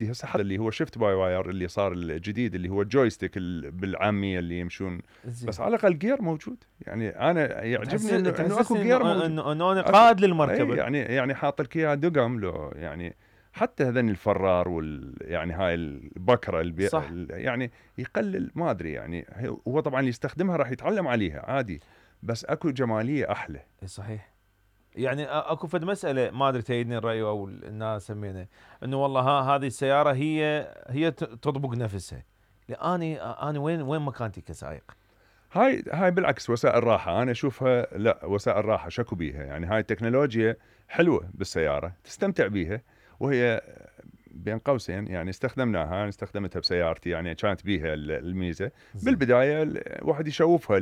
هسه حتى اللي هو شيفت باي واير اللي صار الجديد اللي هو الجويستيك بالعاميه اللي يمشون، بس على الاقل جير موجود. يعني انا يعجبني انه اكو جير موجود، انه انا قائد للمركبه. يعني حاط لك اياها دقم لو يعني حتى هذن الفرار يعني هاي البكره يعني يقلل ما ادري يعني. هو طبعا اللي يستخدمها راح يتعلم عليها عادي، بس اكو جماليه احلى. صحيح. يعني اكو فد مساله ما ادري تأيدني الراي او الناس سمينا انه والله هذه السياره هي تطبق نفسها. انا وين مكانتي كسائق؟ هاي بالعكس وسائل راحه، انا اشوفها لا وسائل راحه شكو بيها. يعني هاي التكنولوجيا حلوه بالسياره تستمتع بيها، وهي بين قوسين يعني استخدمتها بسيارتي، يعني كانت بيها الميزه بالبدايه واحد يشوفها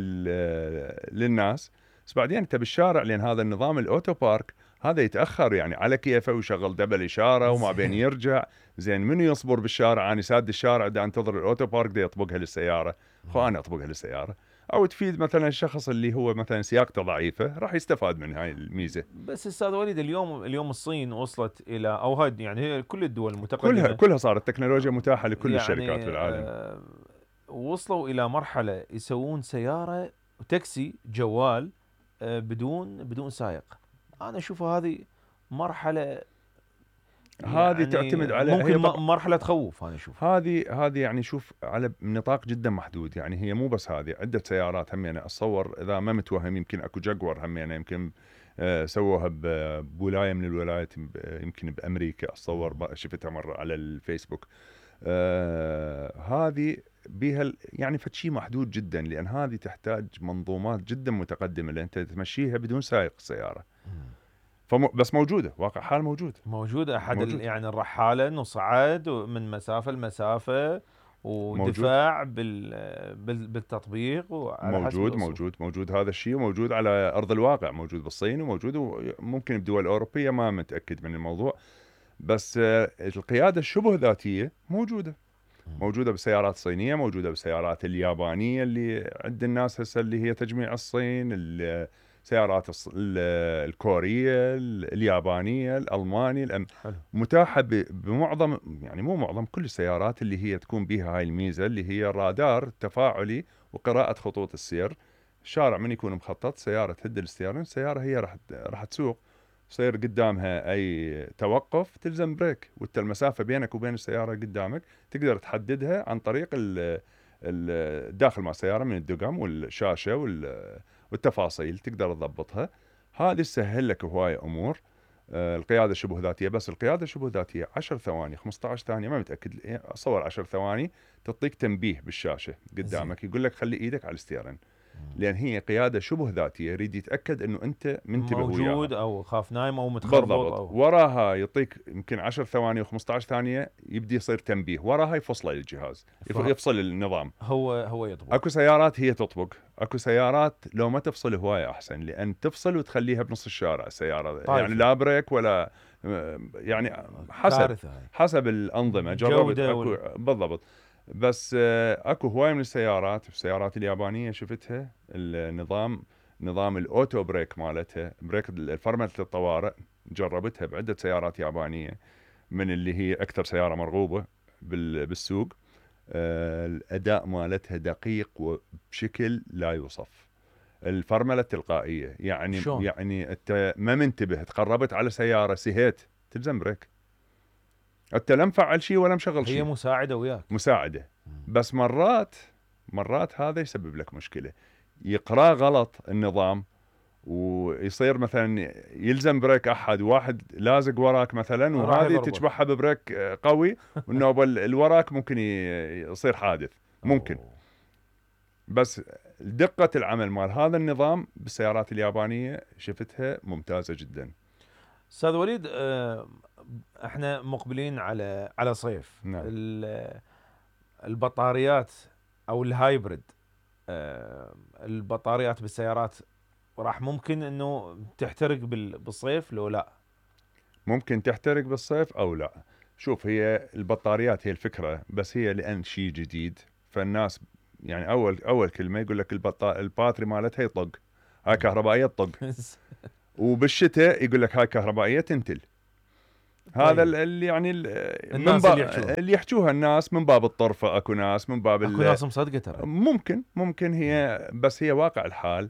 للناس، بس بعدين انت بالشارع لان هذا النظام الاوتو بارك هذا يتاخر يعني على كيفه ويشغل دبل اشاره وما بين يرجع. زين منو يصبر بالشارع؟ انا ساد الشارع دا انتظر الاوتو بارك دا يطبقها للسياره، انا اطبقها للسياره. او تفيد مثلا الشخص اللي هو مثلا سياقته ضعيفه راح يستفاد من هاي الميزه. بس استاذ وليد اليوم الصين وصلت الى او هاي يعني هي كل الدول المتقدمه كلها صارت تكنولوجيا متاحه لكل يعني الشركات في العالم. وصلوا الى مرحله يسوون سياره وتاكسي جوال بدون سائق. انا اشوفها هذه مرحله هذه يعني تعتمد على ممكن مرحله تخوف. انا اشوف هذه يعني شوف على نطاق جدا محدود. يعني هي مو بس هذه، عده سيارات همينه اتصور اذا ما متوهم يمكن اكو جاكور همينه يمكن سووها بولايه من الولايات يمكن بامريكا اتصور، شفتها مره على الفيسبوك. هذه بيها يعني فشي محدود جدا، لان هذه تحتاج منظومات جدا متقدمه لان انت تمشيها بدون سائق السياره. بس موجوده، واقع حال موجود احد يعني الرحاله انه صعد من مسافه لمسافه ودفاع بالتطبيق وعلى موجود هذا الشيء، وموجود على ارض الواقع، موجود بالصين وموجود وممكن بدول اوروبيه ما متاكد من الموضوع. بس القياده الشبه ذاتيه موجوده بالسيارات الصينيه، موجوده بالسيارات اليابانيه اللي عند الناس هسه اللي هي تجميع الصين، السيارات الكوريه، اليابانيه، الالمانيه، متاحه بمعظم يعني مو معظم كل السيارات اللي هي تكون بها هاي الميزه اللي هي الرادار التفاعلي وقراءه خطوط السير. الشارع من يكون مخطط سياره تهد الستيرن، السياره هي راح تسوق، يصير قدامها اي توقف تلزم بريك، وانت المسافه بينك وبين السياره قدامك تقدر تحددها عن طريق الداخل مع السياره من الدقم والشاشه والتفاصيل تقدر تضبطها. هذه تسهل لك هوايه امور. القياده شبه ذاتيه، بس القياده شبه ذاتيه 10 ثواني 15 ثانيه ما متاكد، اصور 10 ثواني تعطيك تنبيه بالشاشه قدامك يقول لك خلي ايدك على الستيرن، لان هي قياده شبه ذاتيه يريد يتاكد انه انت منتبه موجود وياها او خاف نايم او متخربط بالضبط. وراها يعطيك يمكن 10 ثواني و15 ثانيه يبدي يصير تنبيه، وراها يفصله الجهاز يفصل النظام. هو يطبق. اكو سيارات هي تطبق، اكو سيارات لو ما تفصل هوايه احسن، لان تفصل وتخليها بنص الشارع السياره طيب. يعني لا بريك ولا يعني حسب الانظمه جربت اكو بالضبط. بس اكو هوايه من السيارات اليابانيه شفتها نظام الاوتو بريك مالتها، بريك فرمله الطوارئ، جربتها بعده سيارات يابانيه من اللي هي اكثر سياره مرغوبه بالسوق. الاداء مالتها دقيق وبشكل لا يوصف. الفرمله التلقائيه يعني شون؟ يعني انت ما منتبه تقربت على سياره سهيت تلزم بريك، انت لا مفعل شيء ولا مشغل شيء، هي مساعده وياك مساعده. بس مرات هذا يسبب لك مشكله، يقرا غلط النظام ويصير مثلا يلزم بريك احد واحد لازق وراك مثلا، وهذه تشبعها ببريك قوي والنوبه اللي وراك ممكن يصير حادث ممكن. بس دقه العمل مال هذا النظام بالسيارات اليابانيه شفتها ممتازه جدا. استاذ وليد احنا مقبلين على صيف. نعم. البطاريات او الهايبرد، البطاريات بالسيارات راح ممكن انه تحترق بالصيف لو لا؟ ممكن تحترق بالصيف او لا. شوف هي البطاريات هي الفكره، بس هي لان شيء جديد فالناس يعني اول كلمه يقول لك الباتري مالتها يطق، هاي كهربائيه تطق. وبالشتاء يقول لك هاي كهربائيه تنتل. هذا طيب. اللي يعني الناس اللي يحجوها. اللي يحجوها الناس من باب الطرفه. اكو ناس من باب اكو ناس مصدقه ترى. ممكن هي، بس هي واقع الحال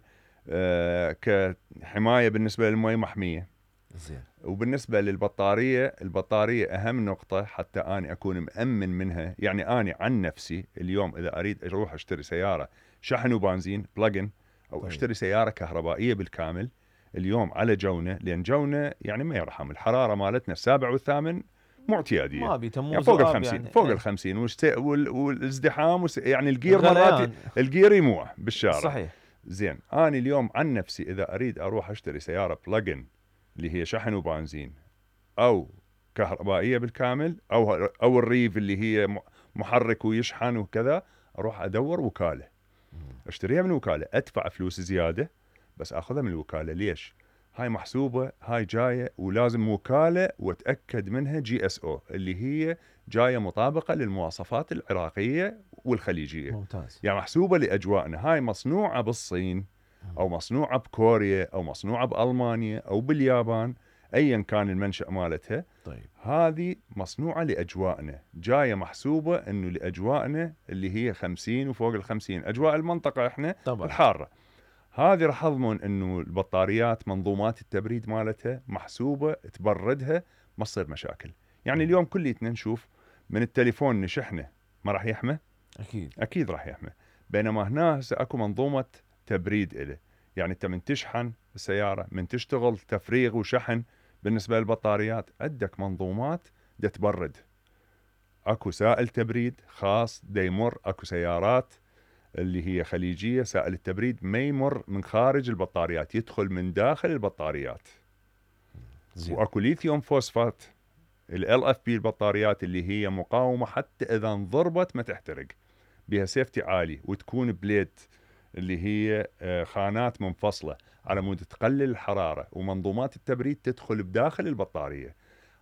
كحمايه بالنسبه للمي محميه. زين. وبالنسبه للبطاريه، البطاريه اهم نقطه حتى اني اكون مأمن منها. يعني اني عن نفسي اليوم اذا اريد اروح اشتري سياره شحن وبنزين بلجن، او طيب. اشتري سياره كهربائيه بالكامل اليوم على جونه، لان جونه يعني ما يرحم الحراره مالتنا السابع والثامن مو اعتياديه، ما ابي تموز يعني فوق ال 50 يعني. فوق ال 50 والازدحام يعني الجير مرات الجير يموع بالشارع. صحيح. زين انا اليوم عن نفسي اذا اريد اروح اشتري سياره بلجن اللي هي شحن وبنزين او كهربائيه بالكامل، او الريف اللي هي محرك ويشحن وكذا، اروح ادور وكاله اشتريها من وكاله، ادفع فلوس زياده بس اخذها من الوكاله. ليش؟ هاي محسوبه، هاي جايه ولازم وكاله واتاكد منها GSO اللي هي جايه مطابقه للمواصفات العراقيه والخليجيه. ممتاز. يعني محسوبه لاجواءنا. هاي مصنوعه بالصين او مصنوعه بكوريا او مصنوعه بالمانيا او باليابان، ايا كان المنشأ مالتها. طيب. هذه مصنوعه لاجواءنا، جايه محسوبه انه لاجواءنا اللي هي 50 وفوق ال 50، اجواء المنطقه احنا طبعا. الحاره. هذه راح اضمن انه البطاريات منظومات التبريد مالتها محسوبه تبردها، ما تصير مشاكل. يعني اليوم كليتنا نشوف من التليفون نشحنه ما راح يحمى؟ اكيد راح يحمى. بينما هنا هسه اكو منظومه تبريد له. يعني انت من تشحن السياره، من تشتغل تفريغ وشحن بالنسبه للبطاريات، عندك منظومات دا تبرد. اكو سائل تبريد خاص دا يمر. اكو سيارات اللي هي خليجيه سائل التبريد ما يمر من خارج البطاريات، يدخل من داخل البطاريات. واكو ليثيوم فوسفات LFP البطاريات اللي هي مقاومه حتى اذا انضربت ما تحترق، بها سيفتي عالي، وتكون بليت اللي هي خانات منفصله على مود تقلل الحراره، ومنظومات التبريد تدخل بداخل البطاريه.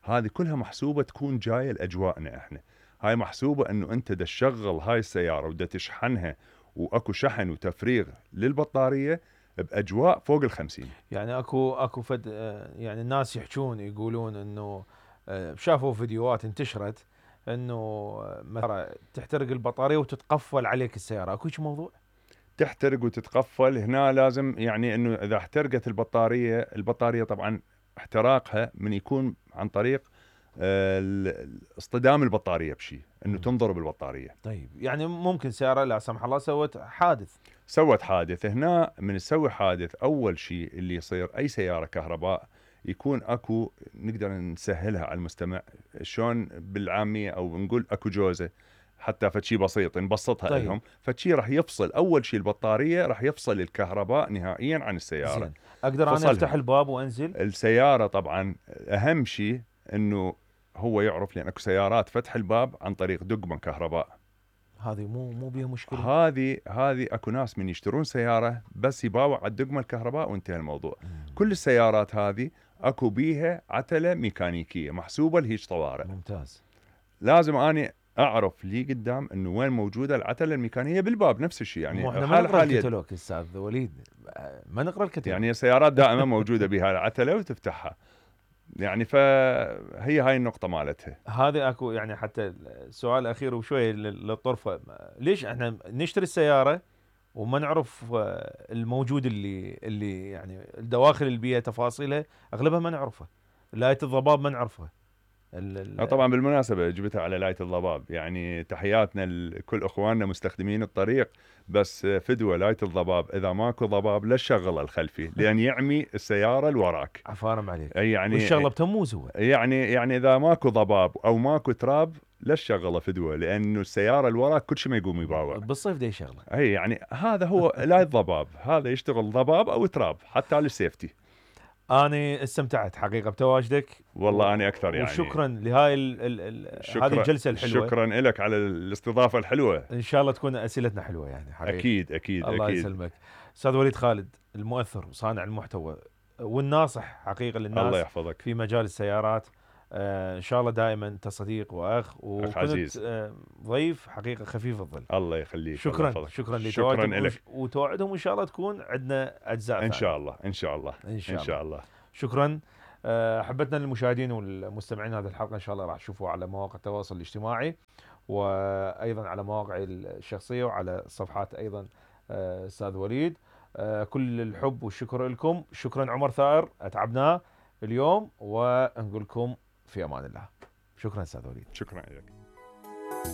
هذه كلها محسوبه تكون جايه لاجواءنا احنا. هاي محسوبه انه انت دا تشغل هاي السياره ودا تشحنها، واكو شحن وتفريغ للبطاريه باجواء فوق ال 50. يعني اكو فد يعني الناس يحجون يقولون انه شافوا فيديوهات انتشرت انه مثلا تحترق البطاريه وتتقفل عليك السياره، اكو شيء موضوع؟ تحترق وتتقفل هنا لازم يعني انه اذا احترقت البطاريه طبعا احتراقها من يكون عن طريق اصطدام البطاريه بشيء، انه تنضرب البطاريه. طيب يعني ممكن سياره لا سمح الله سوت حادث هنا من تسوي حادث اول شيء اللي يصير اي سياره كهرباء يكون اكو، نقدر نسهلها على المستمع شلون بالعاميه او نقول اكو جوزه، حتى فشي بسيط نبسطها. طيب. لهم فشي راح يفصل اول شيء البطاريه، راح يفصل الكهرباء نهائيا عن السياره. زين. اقدر انا افتح الباب وانزل السياره؟ طبعا اهم شيء انه هو يعرف، لان اكو سيارات فتح الباب عن طريق دقمه كهرباء. هذه مو بيها مشكله. هذه اكو ناس من يشترون سياره بس يباوع على الدقمه الكهرباء وانتهى الموضوع. كل السيارات هذه اكو بيها عتله ميكانيكيه محسوبه لهيج طوارئ. ممتاز. لازم اني اعرف لي قدام انه وين موجوده العتله الميكانيكيه بالباب. نفس الشيء يعني احنا ما نقرا الكتالوج استاذ وليد، ما نقرا الكتالوج. يعني السيارات دائما موجوده بها العتله وتفتحها. يعني فهي هاي النقطة مالتها. هذه اكو يعني حتى السؤال الاخير وشوي للطرفة، ليش احنا نشتري السيارة وما نعرف الموجود اللي يعني الدواخل البيئة تفاصيلها اغلبها ما نعرفها، لاية الضباب ما نعرفها. طبعا بالمناسبة جبتها على لاية الضباب، يعني تحياتنا لكل اخواننا مستخدمين الطريق، بس فدوة لاية الضباب اذا ماكو ضباب لا تشغله الخلفي لان يعمي السيارة اللي وراك. عفارم عليك. يعني والشغلة بتموز هو. يعني اذا ماكو ضباب او ماكو تراب لا تشغله فدوة، لانه السيارة اللي وراك كل شيء ما يقوم يباوع. بالصيف ده يشغله. اي يعني هذا هو لاية الضباب، هذا يشتغل ضباب او تراب حتى للسيفتي. أنا استمتعت حقيقة بتواجدك. والله أنا أكثر يعني. وشكرا لهاي هذه الجلسة الحلوة. شكرا لك على الاستضافة الحلوة. إن شاء الله تكون أسئلتنا حلوة يعني حقيقة. أكيد. الله يسلمك. أستاذ وليد خالد، المؤثر وصانع المحتوى والناصح حقيقة للناس. الله يحفظك. في مجال السيارات. إن شاء الله دائما أنت صديق وأخ، وكنت ضيف حقيقة خفيف الظل. الله يخليك. شكرا لتواجدك، وتوعدهم إن شاء الله تكون عندنا أجزاء إن شاء الله. شكرا. احبتنا للمشاهدين والمستمعين هذه الحلقه ان شاء الله راح تشوفوها على مواقع التواصل الاجتماعي، وايضا على مواقعي الشخصيه وعلى صفحات ايضا استاذ وليد. كل الحب والشكر لكم. شكرا عمر ثائر، اتعبناه اليوم، ونقول لكم في امان الله. شكرا استاذ وليد. شكرا لك.